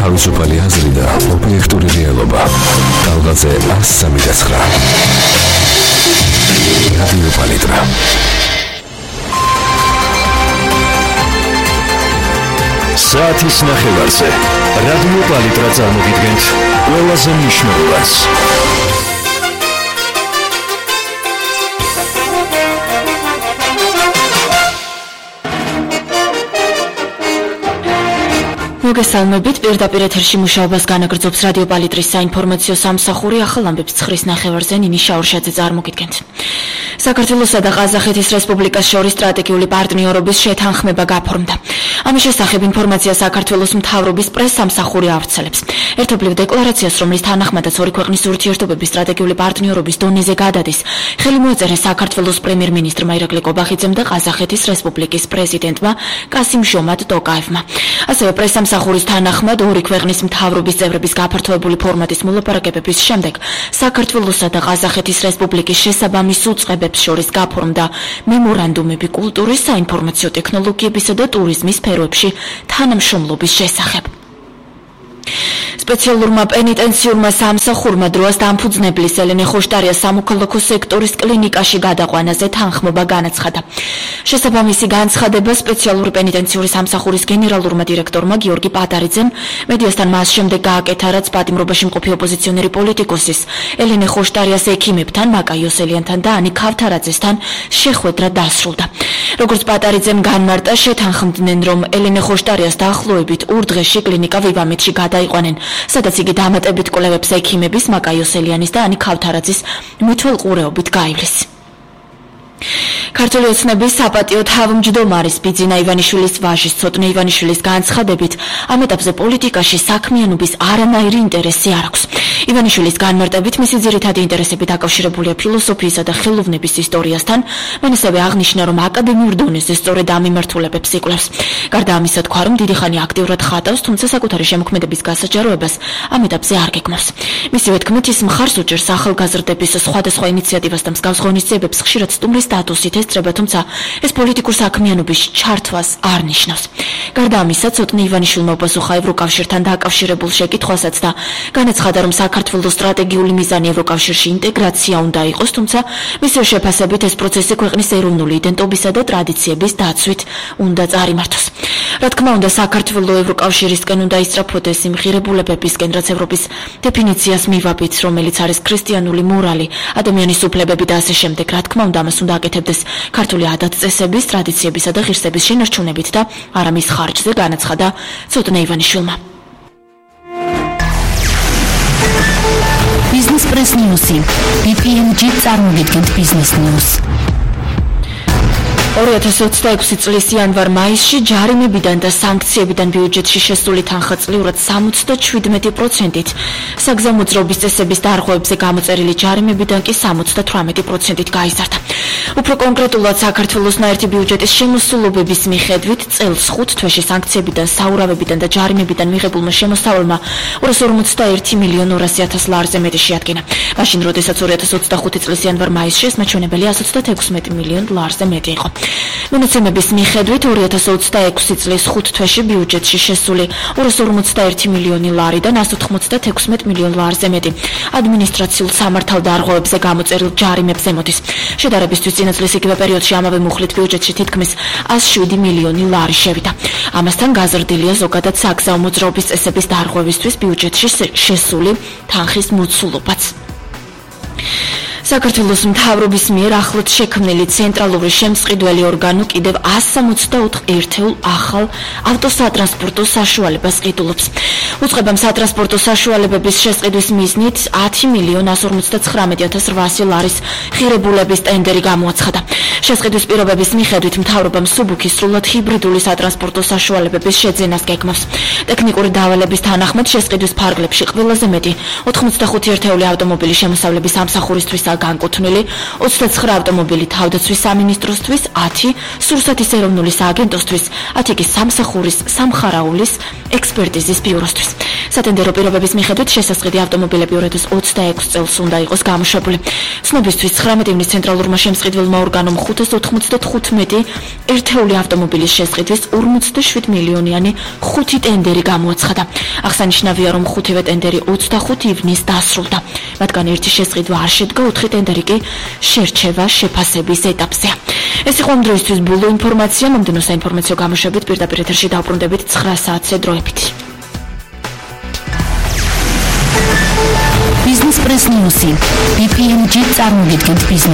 თავისუფალი აზრი და ობიექტური რეალობა. Talgaze 103.9. რადიო პალიტრა. საათის ნახევარზე რადიო პალიტრა წარმოგიდგენთ ყველაზე მნიშვნელოვანს. მოგესალმებით, პირდაპირ ეთერში მუშაობას განაგრძობს რადიო პალიტრის საინფორმაციო სამსახური. ახალ ამბებს 9-ის ნახევარზე ნინი შაურშაძე წარმოგიდგენთ. საქართველოსა და ყაზახეთის რესპუბლიკას შორის სტრატეგიული პარტნიორობის შეთანხმება გაფორმდა. ამის შესახებ ინფორმაცია საქართველოს მთავრობის პრესსამსახური ავრცელებს. ერთობლივ დეკლარაციას, რომლის თანახმადაც ორი ქვეყნის ურთიერთობების სტრატეგიული პარტნიორობის დონეზე გადადის, ხელი მოეწერა საქართველოს პრემიერ-მინისტრმა ირაკლი კობახიძემ და ყაზახეთის რესპუბლიკის პრეზიდენტმა კასიმ-ჟომატ ტოკაევმა. ასევე პრესსამსახურის თანახმად ორი ქვეყნის მთავრობის წევრების გაფართოებული ფორმატის მოლაპარაკებების შემდეგ საქართველოსა და ყაზახეთის რესპუბლიკის შესაბამის უწყებებს შორის გაფორმდა მემორანდუმები კულტურის, საინფორმაციო ტექნოლოგიებისა და ტურიზმის სფეროებში თანამშრომლობის შესახებ. სპეციალურმა პენიტენციურმა სამსახურმა დროას დამფუძნებლის ელენე ხოშტარიას სამოქალაქო სექტორის კლინიკაში გადაყვანაზე თანხმობა განაცხადა. შესაბამისი განცხადება სპეციალური პენიტენციური სამსახურის გენერალურმა დირექტორმა გიორგი პატარიძემ მედიასთან მას შემდეგ გააკეთა, რაც პატიმრობაში მყოფი ოპოზიციონერი პოლიტიკოსის ელენე ხოშტარიას ექიმებთან, მაკა იოსელიანთან და ანი ქავთარაძესთან შეხვედრა დასრულდა. როგორც პატარიძემ განმარტა, შეთანხმდნენ, რომ ელენე ხოშტარიას დაახლოებით ურდღეში კლინიკა ვივამეთში გადაიყვანენ, სადაც იგი დამატებით კვლევებს ექიმების, მაკა იოსელიანის და ანი ქავთარაძის მითვალყურეობით გაივლის. ქართული ოცნების საპატიო თავმჯდომარის ბიძინა ივანიშვილის ვაჟის ცოტნე ივანიშვილის განცხადებით, ამ ეტაპზე პოლიტიკაში საქმიანობის არანაირი ინტერესი არ აქვს. ივანიშვილის განმარტებით, მისი ძირითადი ინტერესები დაკავშირებულია ფილოსოფიისა და ხელოვნების ისტორიასთან. მან ასევე აღნიშნა, რომ აკადემიურ დონეზე სწორედ ამ მიმართულებებს იკვლევს. გარდა ამისა, თქვა, რომ დიდი ხანი აქტიურად ხატავს, თუმცა საკუთარი შემოქმედების გასაჯაროებას ამ ეტაპზე არ გეგმავს. მისივე თქმით, ის მხარს უჭერს ახალგაზრდების სხვადასხვა ინიციატივას და მსგავს ღონისძიებებს ხშირად სტუმრის სტატუსით ესწრება, თუმცა ეს პოლიტიკურ საქმიანობის ჩართვას არ ნიშნავს. გარდა ამისა, ცოტნე ივანიშვილმა უპასუხა ევროკავშირთან დაკავშირებულ შეკითხვასაც და განაცხადა, რომ საქართველოს სტრატეგიული მიზანი ევროკავშირში ინტეგრაცია უნდა იყოს, თუმცა მისივე შეფასებით ეს პროცესი ქვეყნის ეროვნული იდენტობისა და ტრადიციების დაცვით უნდა წარიმართოს. რა თქმა უნდა, საქართველოს ევროკავშირისკენ უნდა ისწრაფოდეს იმ ღირებულებებისკენ, რაც ევროპის დეფინიციას მივაბით, რომელიც არის ქრისტიანული მორალი, ადამიანის უფლებები და ასე შემდეგ. რა თქმა უნდა, ამას უნდა აკეთებდეს ქართული ადათ-წესების, ტრადიციებისა და ღირსების შენარჩუნებით და არა მის ხარჯზე, განაცხადა ცოტნე ივანიშვილმა. Business Press News. BPMG წარმოგიდგენთ Business News. 2026 წლის იანვარ-მაისში ჯარიმებიდან და სანქციებიდან ბიუჯეტში შესული თანხა წლიურად 77%-ით, საგზაო მოძრაობის წესების დარღვევებზე გამოწერილი ჯარიმებიდან კი 78%-ით გაიზარდა. უფრო კონკრეტულად, საქართველოს ნაერთი ბიუჯეტის შემოსულობების მიხედვით წელს 5 თვეში სანქციებიდან, საურავებიდან და ჯარიმებიდან მიღებულმა შემოსავალმა 241.200.000 ლარზე მეტი შეადგინა. მაშინ, როდესაც 2025 წლის იანვარ-მაისში ეს მაჩვენებელი 136 მილიონ ლარზე მეტი იყო. მონაცემების მიხედვით 2026 წლის 5 თვეში ბიუჯეტში შესული 241 მილიონი ლარიდან 196 მილიონ ლარზე მეტი ადმინისტრაციულ სამართალ დარღვევებზე გამოწერილ ჯარიმებზე მოდის. შედარებისთვის წინა წლის იგივე პერიოდში ამავე მუხლით ბიუჯეტში თითქმის 107 მილიონი ლარი შევიდა. ამასთან გაზრდილია ზოგადად საგზაო მოძრაობის წესების დარღვევისთვის ბიუჯეტში შესული თანხის მოცულობაც. საქართველოს მთავრობის მიერ ახლად შექმნილი ცენტრალური შემსყიდველი ორგანო კიდევ 164 ერთეულ ახალ ავტოსატრანსპორტო საშუალებას ყიდულობს. უწყებამ სატრანსპორტო საშუალებების შესყიდვის მიზნით 10.059.800 ლარის ღირებულების ტენდერი გამოაცხადა. შესყიდვის პირობების მიხედვით მთავრობამ სუბუქის სრულად ჰიბრიდული სატრანსპორტო საშუალებების შეძენას გეგმავს. ტექნიკური დავალების თანახმად შესყიდვის ფარგლებში ყველაზე მეტი 85 ერთეული ავტომობილი შემოსავლების სამსახურისთვისაა განკუთვნილი, 29 ავტომობილი თავდაცვის სამინისტროსთვის, 10 სურსათის ეროვნული სააგენტოსთვის, 10 კი სამსახურის სამხარაულის ექსპერტიზის ბიუროსთვის. სატენდერო პირობების მიხედვით შესასყიდი ავტომობილები 2026 წელს უნდა იყოს გამოშვებული. ცნობისთვის 19 ივნის ცენტრალურმა შემსყიდველმა ორგანომ 595 ერთეული ავტომობილის შესყიდვის 47 მილიონიანი 5 ტენდერი გამოაცხადა. აღსანიშნავია, რომ 5-ვე ტენდერი 25 ივნის დასრულდა. მათგან ერთი შესყიდვა არ შედგა, 4 ტენდერი კი შერჩევა შეფასების ეტაპზეა. ეს იყო ამ დროისთვის ბოლო ინფორმაცია. მომდევნო საინფორმაციო გამოშვებით პირდაპირ ეთერში დავბრუნდებით 9 საათზე დროებით. Business Press News. BPMG წარმოგიდგენთ ბიზნეს